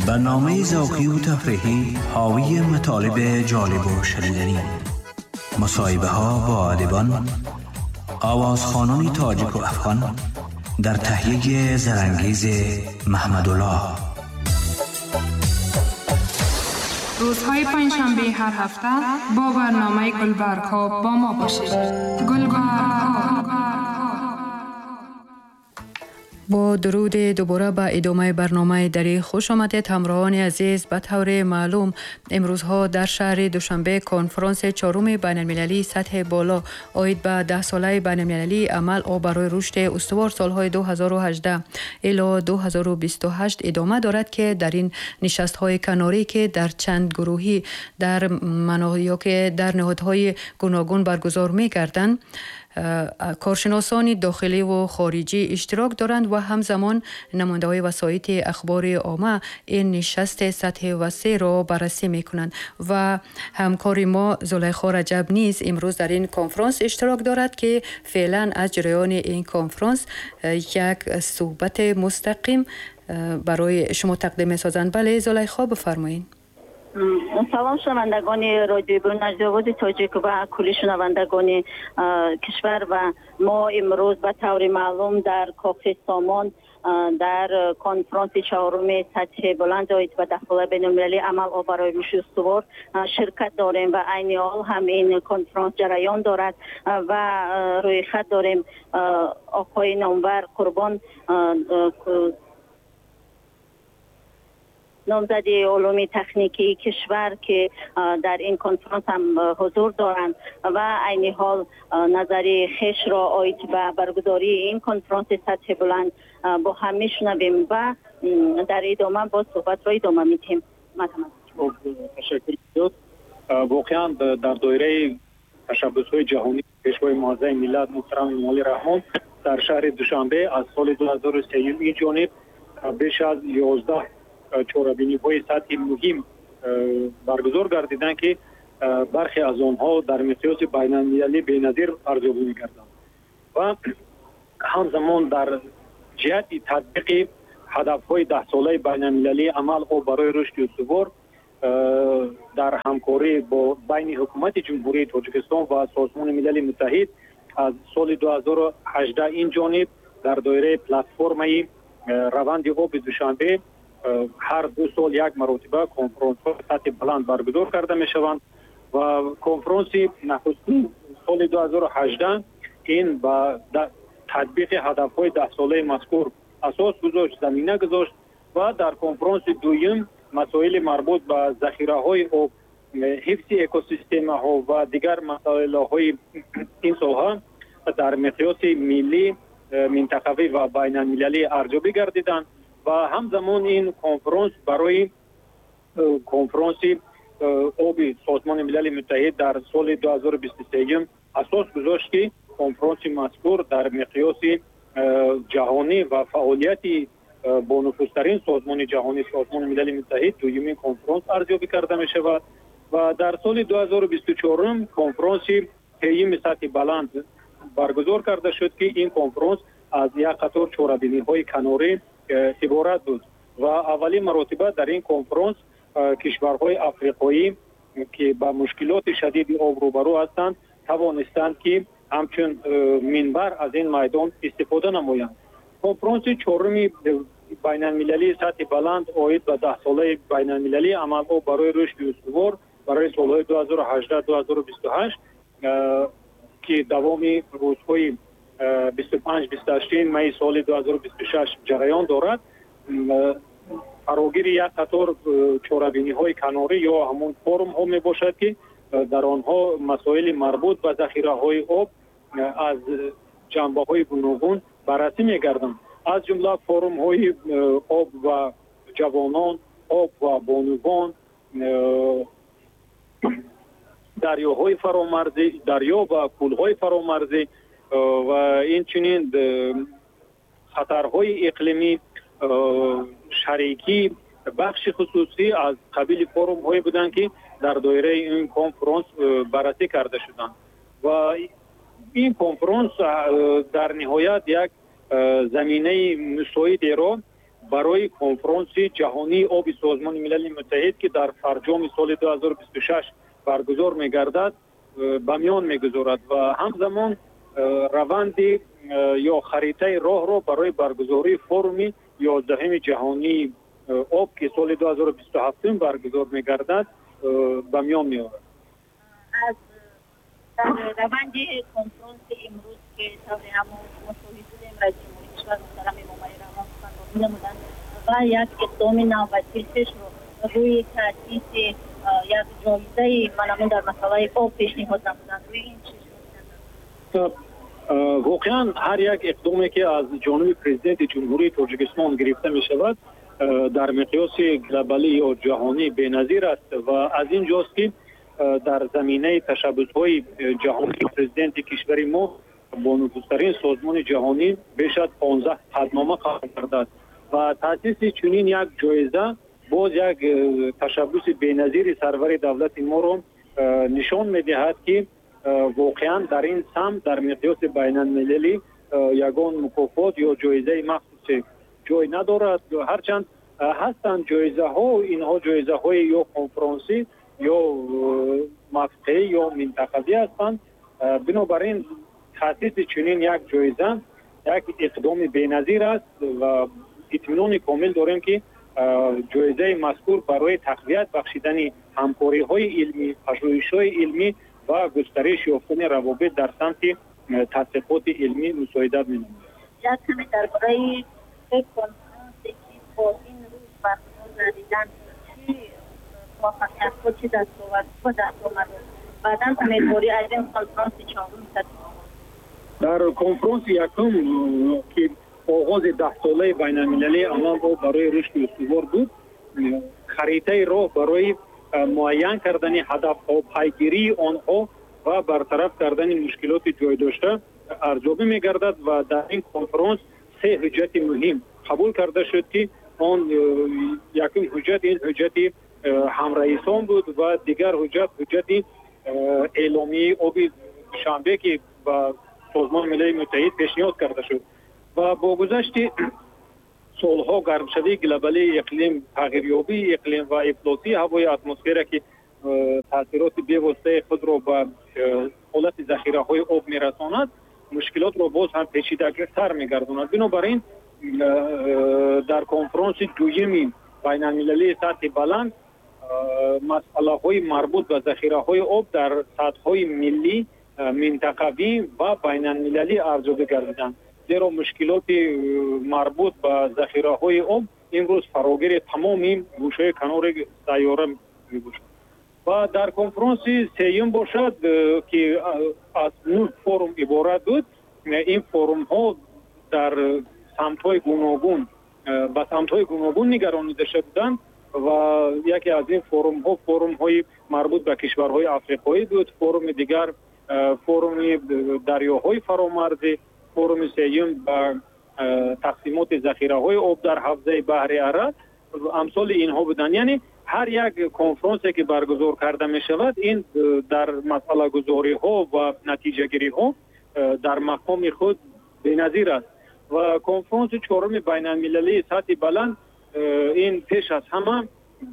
برنامه ذوقی و تفریحی حاوی مطالب جالب و شنیدنی، مصاحبه ها با ادیبان، آوازخوانان تاجیک و افغان در تهیه زرنگیز محمدالله. روزهای پنجشنبه هر هفته با برنامه گلبرگ ها با ما باشید. گلبرگ ها. با درود دوباره به ادامه برنامه دری خوش آمدید همراهان عزیز. به طور معلوم امروزها در شهر دوشنبه کنفرانس چهارم بین المللی سطح بالا عاید به 10 ساله بین المللی عمل آب برای رشد استوار سالهای 2018 الی 2028 ادامه دارد که در این نشست های کناری که در چند گروهی در مناطق که در نهادهای گوناگون برگزار می گردند، کارشناسان داخلی و خارجی اشتراک دارند و همزمان نماینده‌های وسایط اخبار عامه این نشست سطح وسیع را بررسی می‌کنند و همکار ما زلیخا رجب نیز امروز در این کنفرانس اشتراک دارد که فعلا از جریان این کنفرانس یک صحبت مستقیم برای شما تقدیم می‌سازند. بله زلیخا، بفرمایید. سلام شنوندگان رادیو برنامه تاجیک و کلی شنوندگان کشور. و ما امروز به طور معلوم در کاخ سامان در کنفرانس چهارم سطح بلند عاید به 10 ساله بین المللی عمل آب برای رشد استوار شرکت داریم و عین حال هم این کنفرانس جریان دارد و روی خط داریم آقای نامور قربان، نامزد علوم تکنیکی کشور که در این کنفرانس هم حضور دارند و عین حال نظر خویش را عاید به برگزاری این کنفرانس سطح بلند با هم میشنویم و در ادامه با صحبت را ادامه میدهیم. تشکر زیاد. واقعا در دایره تشبث‌های جهانی پیشوای معظم ملت محترم امامعلی رحمان در شهر دوشنبه از سال 2003 این جانب بیش از 11 چорабиниҳои сатҳи муҳим баргузор гардиданд, ки бархе аз онҳо дар миқёси байналмилалӣ беназир арзёбӣ мегарданд ва ҳамзамон дар ҷиҳати татбиқи ҳадафҳои даҳсолаи байналмилалии амал об барои рушди устувор дар ҳамкорӣ бо байни ҳукумати Ҷумҳурии Тоҷикистон ва Созмони Милали Муттаҳид аз соли 2018 ин ҷониб дар доираи платформаи раванди оби Душанбе ҳар 2 сол як маротиба конференсҳои сатҳи баланд баргузор карда мешаванд ва конференси нахустин соли 2018 ин ба татбиқи ҳадафҳои даҳсолаи мазкур асос гузошт, замина гузошт ва дар конференси дуюм масоили марбут ба захираҳои об, ҳифзи экосистемаҳо ва дигар масъалаҳои ин соҳа дар миқёси миллӣ, минтақавӣ ва байналмилалӣ арзёбӣ гардиданд ва ҳамзамон ин конференс барои конференси оби Созмони Милали Муттаҳид дар соли 2023 асос гузошт, ки конференси мазкур дар миқёси ҷаҳонӣ ва фаъолияти бонуфузтарин созмони ҷаҳонӣ Созмони Милали Муттаҳид дуюмин конференс арзёбӣ карда мешавад ва дар соли 2024 конференси сеюми сатҳи баланд баргузор карда шуд, ки ин конференс аз як қатор чорабиниҳои канорӣ иборат буд ва аввалин маротиба дар ин конференс кишварҳои африқоӣ, ки ба мушкилоти шадиди об рӯбарӯ ҳастанд, тавонистанд, ки ҳамчун минбар аз ин майдон истифода намоянд. Конференси чоруми байналмилалии сатҳи баланд оид ба даҳсолаи байналмилалии амал об барои рушди устувор барои солҳои 2018-2028, ки давоми рӯзҳои 25-28 май соли 2026 ҷараён дорад, фарогири як қатор чорабиниҳои канорӣ ё ҳамон форумҳо мебошад, ки дар онҳо масоили марбут ба захираҳои об аз ҷанбаҳои гуногун баррасӣ мегарданд, аз ҷумла форумҳои об ва ҷавонон, об ва бонувон, дарёҳои фаромарзӣ, дарё ва кӯлҳои фаромарзӣ ва инчунин хатарҳои иқлимӣ, шарикӣ, бахши хусусӣ аз қабили форумҳое буданд, ки дар доираи ин конференс баррасӣ карда шуданд ва ин конференс дар ниҳоят як заминаи мусоидеро Барои конфронси ҷаҳонии оби Созмони Милали Муттаҳид, ки дар фарҷоми соли 2026 баргузор мегардад, ба миён мегузорад ва ҳамзамон раванди ё харитаи роҳро барои баргузории форуми 11-уми ҷаҳонии об, ки соли 2027 баргузор мегардад, ба миён меорад. Аз дар раванди конфронси имрӯз, ки тавре ҳамон шумо шоҳид будем, раиси ҷумҳури кишвар муҳтарам Эмомалӣ Раҳмон суханронӣ намуданд ва як иқдоми навбатии хешро рӯи таъсиси як ҷоизаи манамун дар масъалаи об пешниҳод намуданд. Рӯи ин чӣ? Воқеан, ҳар як иқдоме, ки аз ҷониби Президенти Ҷумҳурии Тоҷикистон гирифта мешавад, дар миқёси глобалӣ ё ҷаҳонӣ беназир аст ва аз ин ҷост, ки дар заминаи ташаббусҳои ҷаҳонии президенти кишвари мо бонуфузтарин созмони ҷаҳонӣ беш аз 15 қатънома қабул кардааст ва таъсиси чунин як ҷоиза боз як ташаббуси беназири сарвари давлати моро нишон медиҳад, ки воқеан дар ин самт дар миқёси байналмилалӣ ягон мукофот ё ҷоизаи махсусе ҷой надорад. Ҳарчанд ҳастанд ҷоизаҳо, инҳо ҷоизаҳои ё конфронсӣ, ё мавқеӣ, ё минтақавӣ ҳастанд. Бинобар ин таъсиси чунин як ҷоиза як иқдоми беназир аст ва итминони комил дорем, ки ҷоизаи мазкур барои тақвият бахшидани ҳамкориҳои илмӣ, пажӯҳишҳои илмӣ ва густариш ёфтани равобит дар самти тадқиқоти илмӣ мусоидат менамояд. Як каме дар бораи се конфронсе, ки то ин рӯз баргузор гардиданд, чӣ муваффақиятҳо, чӣ дастовардҳо ба даст омад, баъдан умедворӣ аз ин конфронси чорум сатҳи Дар конфронси якум, ки оғози 10-солаи байналмилалии амал барои рушди устувор буд, харитаи роҳ барои муайян кардани ҳадафҳо, пайгирии онҳо ва бартараф кардани мушкилоти ҷойдошта арзёбӣ мегардад ва дар ин конфронс се ҳуҷҷати муҳим қабул карда шуд, ки он якум ҳуҷҷат ин ҳуҷҷати ҳамраисон буд ва дигар ҳуҷҷат ҳуҷҷати эъломияи оби Душанбе, ки ба Созмони Милали Муттаҳид пешниҳод карда шуд. Ва бо гузашти солҳо гармшавии глобалии иқлим, тағйирёбии иқлим ва ифлосии ҳавои атмосфера, ки таъсироти бевоситаи худро ба ҳолати захираҳои об мерасонад, мушкилотро боз ҳам печидатар мегардонад. Бинобар ин дар конфронси дуюми байналмилалии сатҳи баланд масъалаҳои марбут ба захираҳои об дар сатҳҳои миллӣ, минтақавӣ ва байналмилалӣ арзёбӣ гардиданд, зеро мушкилоти марбут ба захираҳои об имрӯз фарогири тамоми гӯшаи канори сайёра мебошад. Ва дар конфронси сеюм бошад, ки аз нӯҳ форум иборат буд, ин форумҳо дар самтҳои гуногун ба самтҳои гуногун нигаронида шуда буданд ва яке аз ин форумҳо форумҳои марбут ба кишварҳои африқоӣ буд, форуми дигар форуми дарёҳои фаромарзӣ, форуми сеюм ба тақсимоти захираҳои об дар ҳавзаи баҳри Арал, амсоли инҳо буданд. Яъне ҳар як конфронсе, ки баргузор карда мешавад, ин дар масъалагузориҳо ва натиҷагириҳо дар мақоми худ беназир аст. Ва конфронси чоруми байналмилалии сатҳи баланд ин пеш аз ҳама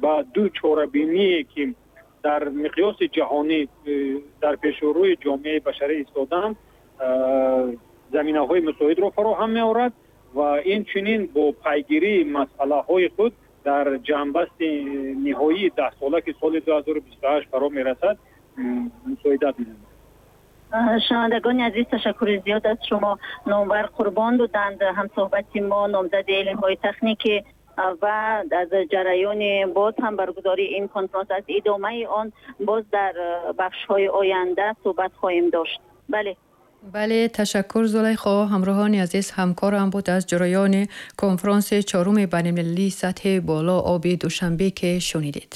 ба ду чорабиние, ки дар миқёси ҷаҳонӣ дар пешурӯи ҷомеаи башарӣ истодаанд, заминаҳои мусоидро фароҳам меорад ва инчунин бо пайгирии масъалаҳои худ дар ҷамъбасти ниҳоии 10-сола, ки соли 2028 фаро мерасад, мусоидат менамояд. Шунавандагони азиз, ташаккури зиёд аз шумо. Номвар Қурбон буданд ҳамсӯҳбати мо, номзади илмҳои техникӣ, ва аз ҷараёни боз ҳам баргузории ин конфронс, аз идомаи он боз дар бахшҳои оянда суҳбат хоҳем дошт. Бале. Бале, ташаккур, Зулайхо. Ҳамроҳони азиз, ҳамкорам буд аз ҷараёни конфронси чоруми байналмилалии сатҳи боло оби Душанбе, ки шунидед.